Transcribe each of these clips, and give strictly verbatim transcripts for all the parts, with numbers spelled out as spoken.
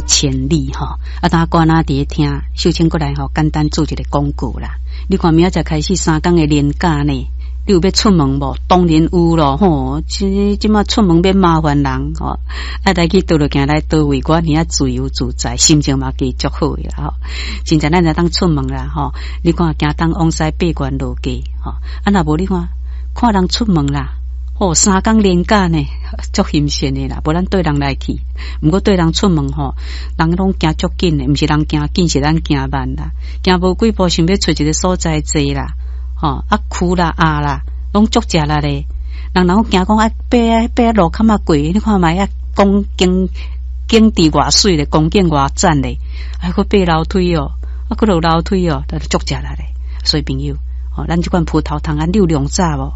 千里吼，啊，當歌仔佇咧聽，秀清閣來吼，簡單做一个廣告啦。你看明仔載開始三工的連假呢，你有欲出門無？當然有咯，吼！這這馬出門免麻煩人吼，愛來去佗落行來佗位，我爾自由自在，心情嘛加足好的啦吼。真正咱會當出門啦吼，你看行東往西八關落街吼，啊若無你看，看人出門啦。哦，三工連假呢，足欣鮮的啦。無咱綴人來去，毋過綴人出門吼，人攏行足緊的，毋是人行緊，是咱行慢啦。行無幾步，想欲揣一个所在坐啦，吼啊跍啦壓啦，攏足食力咧。人人驚講啊，爬啊爬啊路坎仔過，你看覓啊，講景景致偌媠咧，風景偌讚咧，啊閣爬樓梯哦，啊閣落樓梯哦，都足食力咧。所以朋友，吼，咱這款葡萄糖胺你有量早無？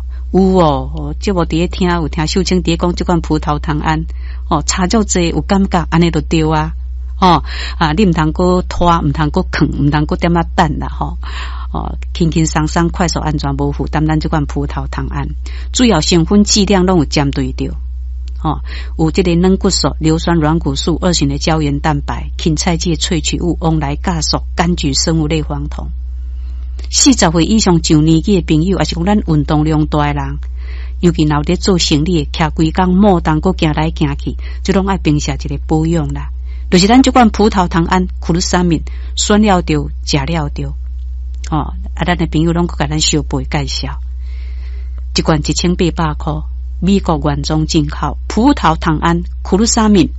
有哦，節目佇咧聽，有聽秀清佇咧講這款葡萄糖胺，哦，差足濟有感覺，按呢就對啊，哦啊，你毋通閣拖，毋通閣囥，毋通閣踮仔等啦，吼，哦，輕輕鬆鬆、快速、安全、無負擔，咱這款葡萄糖胺，主要成分劑量攏有針對著，吼，有這个軟骨素、硫酸軟骨素、二型的膠原蛋白、芹菜籽萃取物、王來鉀素、柑橘生物類黃酮。四十歲以上上年紀的朋友，抑是講咱運動量大的人，尤其若有佇做生理的，徛規工摩動閣行來行去，這攏愛平時一个保養啦。就是咱這款葡萄糖胺、苦魯三敏，選了著，食了著，吼！啊，咱的朋友攏閣共咱相背介紹，一罐一千八百箍，美國原裝進口葡萄糖胺、苦魯三敏。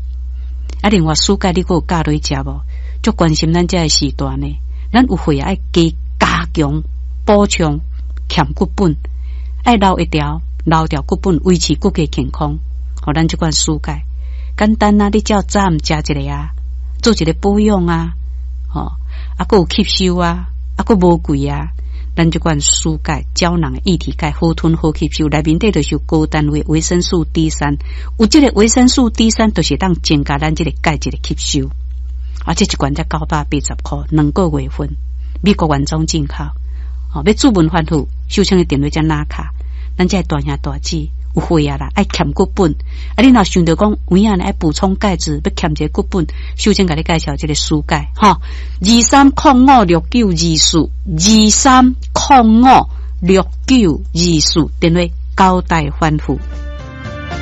啊，另外舒鈣你閣有教落去食無？足關心咱這个時段呢，咱有血壓愛加。加強補充欠骨本，愛留會牢，留牢骨本，維持骨骼健康。予咱這款舒鈣簡單啊！你只要早暗食一个啊，做一个保養啊，吼，啊，閣有吸收啊，啊，閣無貴啊。咱這款舒鈣膠囊的液體鈣好吞好吸收，內面底就是有高單位維生素 D 三，有這个維生素 D 三，就是當增加咱這个鈣質的吸收。啊，這一罐才九百八十箍，兩個月份。美國原裝進口，哦，欲諮問反覆，秀清的電話才拿卡，咱這大兄大姊有血壓啦，愛欠骨本，啊，你若想著講有影呢愛補充鈣質，欲欠一个骨本，秀清共你介紹這个舒鈣，吼，二三空五六九二四，二三空五六九二四，電話交代反覆。